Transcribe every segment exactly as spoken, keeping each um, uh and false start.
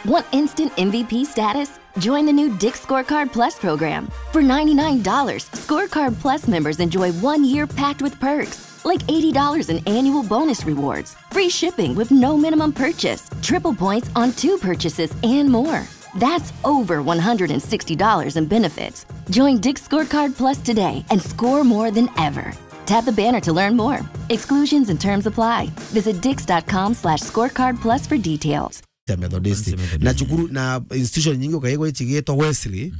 Want instant M V P status? Join the new Dick's Scorecard Plus program. For ninety-nine dollars, Scorecard Plus members enjoy one year packed with perks, like eighty dollars in annual bonus rewards, free shipping with no minimum purchase, triple points on two purchases, and more. That's over one hundred sixty dollars in benefits. Join Dick's Scorecard Plus today and score more than ever. Tap the banner to learn more. Exclusions and terms apply. Visit dicks.com slash scorecard plus for details. Cia Methodist. Cia Methodist. Na cukuru, na institution nyingi ukaigwa icigitwa Wesley,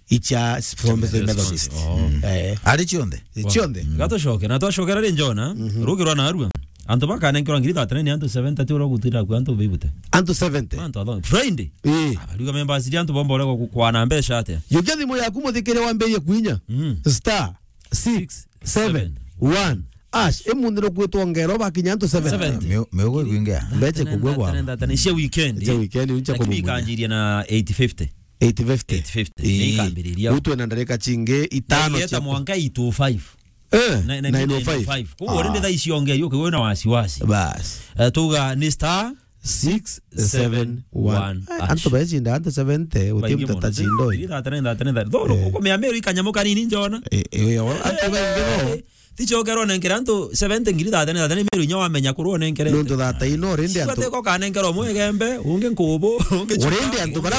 icia Methodist. Oh. Eh. Ari cionthe? Cionthe. Gatucoke, na twacokera ri Jona, rugi rwa narua. Antu bakanenkerwa ngiri thirty-nine, antu seventy ti uria gutira ku antu bibute. Antu seventy? Antu atho. Friday. Eh. Ariuga members iria antu bomba uria kwana mbeca atia? Yukia thimu yaku muthikire wambirie kuinya. Mm. Star six seven one hash. Imunthi nukwitwa ngero bakinya antu seventy. Seventy. Miu-, miugo ikwingia. Mbeche kugwe bwa. Cia weekend. Cia weekend, uncha. Lakini kubunya. Ikanjiria na eight fifty. Eight fifty. Eight fifty. Ii. Ni ikambiriria. Utwe na ndarika chingi itano. Yeta cia mwanka eight oh five. Eh, na, na nine oh five. Koguo rindi thaa icio onge, yuke wina wasiwasi. Bas. Eh, tuga ni star six seven one hash. Antu bacinda, antu seventy, uti mtata cindo. Though, eh, ukumea Meru ikanyamuka nini njona. Eh, eh, antu baingi no. Tichokero nenkere antu seventy ngiri thirty-nine, thirty-nine Meru inya wamenya kurwo nenkere. Nontu thirty-nine already antu. Teko kanengera umwe igembe, ungi nkubu, ungi chuka, already antu bara,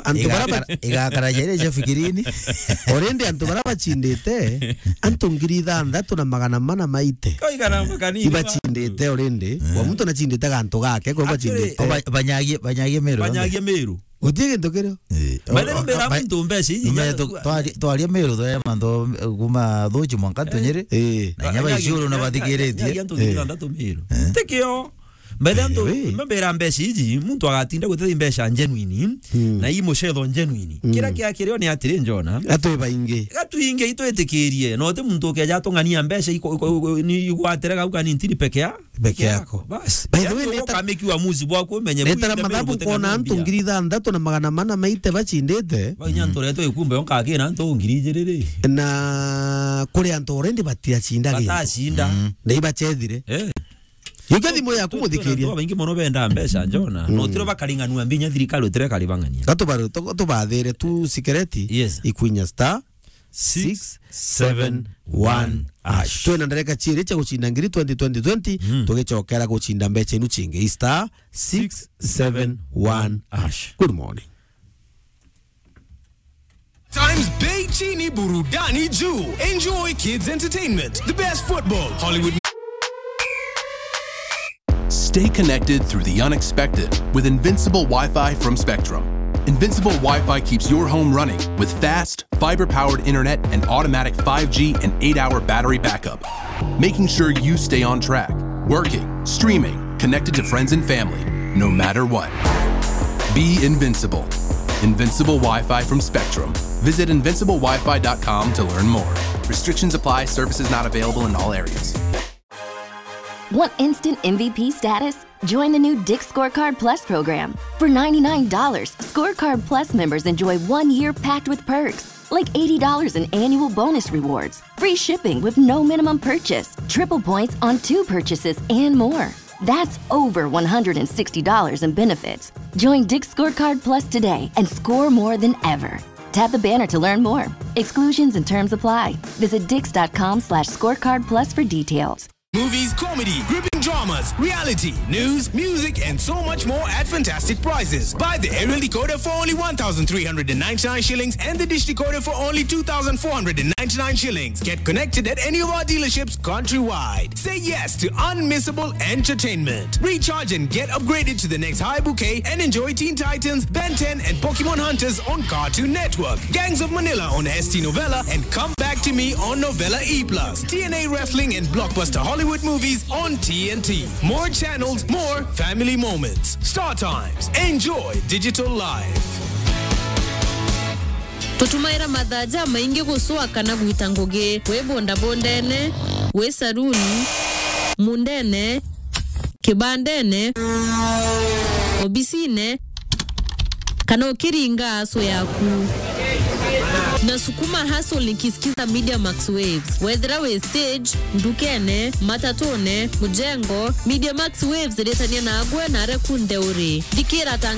antu bara ba- Igakara, igakara jere ja fikirini. Already antu bara bachindite, antu ngiri ithanthatu na magana mana maite. Ko igana makani. Ibachindite already. Eh. Kwa muntu nachindite gantu gake, kwa bachindite. Actually, ba-, banyagie, banyagie Meru. Banyagie Meru. Guti gintu kirio. Eh, by the way, o-, o-, mbera ba-, muntu mbeca iji, nume nya- tu-, twari-, twaria Meru, twa mantu, eh, kuma Thuchi mwanka Tunyiri. Eh. Na inya ba Icuru na bathikiritie. Nya antu ngiri ithanthatu Meru. Eh. Tikio. By the way, antu, eh, we, mbera mbeca iji, muntu agatinda gutethia mbeca genuine, mm, na i mucetho genuine. Mm. Kira kia kirio ni atiri, Jona. Gatwi baingi. Gatwi ingi itwitikirie. No ti muntu ukeja atung'ania mbeca iko-, iko-, iko-, ni igwatire gau kanini ntiri peke ya peke yako. Bas. By the way, yaani neta-, ukameki uamuzi bwaku umenye netara mathabu nkona antu ngiri ithanthatu na magana mana maite bachindite. Ba inya ntu retwe ikumbe onka akina antu ngiri ijiri ri. Na kuri antu already batiachinda gintu. Batacinda. Mm. Na ibachethire. Eh. Yukia thimu yaku muthikiria. Antu baingi mono benda mbeca, Jona. Mm. No tiro bakaringanua mbinya thirikari utire karibang'ania. Gatubaru-, tu-, tubathire tu sikereti. Yes. Ikwinya star six seven one hash. Twina ndareka chiiri cha guchinda ngiri twenty twenty twenty, mm, tugicokera guchinda mbecha inu chingi. Star six seven one hash. Good morning. Times bei chini, burudani juu. Enjoy kids entertainment, the best football, Hollywood. Stay connected through the unexpected with Invincible Wi-Fi from Spectrum. Invincible Wi-Fi keeps your home running with fast, fiber-powered internet and automatic five G and eight-hour battery backup, making sure you stay on track, working, streaming, connected to friends and family, no matter what. Be invincible. Invincible Wi-Fi from Spectrum. Visit invincible wi fi dot com to learn more. Restrictions apply. Services not available in all areas. Want instant M V P status? Join the new Dick's Scorecard Plus program. For ninety-nine dollars, Scorecard Plus members enjoy one year packed with perks, like eighty dollars in annual bonus rewards, free shipping with no minimum purchase, triple points on two purchases, and more. That's over one hundred sixty dollars in benefits. Join Dick's Scorecard Plus today and score more than ever. Tap the banner to learn more. Exclusions and terms apply. Visit dicks dot com slash scorecard plus for details. Movies, comedy, gripping dramas, reality, news, music, and so much more at fantastic prices. Buy the aerial decoder for only one thousand three hundred and ninety-nine shillings and the dish decoder for only two thousand four hundred and ninety-nine shillings. Get connected at any of our dealerships countrywide. Say yes to unmissable entertainment. Recharge and get upgraded to the next high bouquet and enjoy Teen Titans, Ben ten, and Pokemon Hunters on Cartoon Network, Gangs of Manila on S T Novella, and Come Back to Me on Novella E plus, T N A Wrestling and blockbuster Hollywood movies on T N T. More channels, more family moments. Star Times. Enjoy digital life. Tutumaira mathaa jamaingi gucua kana gwita ngugi, wi bondabondene, wi saruni, mundene, kibandene, obisine, kana ukiringa aso yaku. Nasukuma hustle nikisikiza Media Max Waves. Wethira wi stage, ndukene, matatune, mujengo, Media Max Waves iritania nagwe na aria kunthe uri. Thikira ta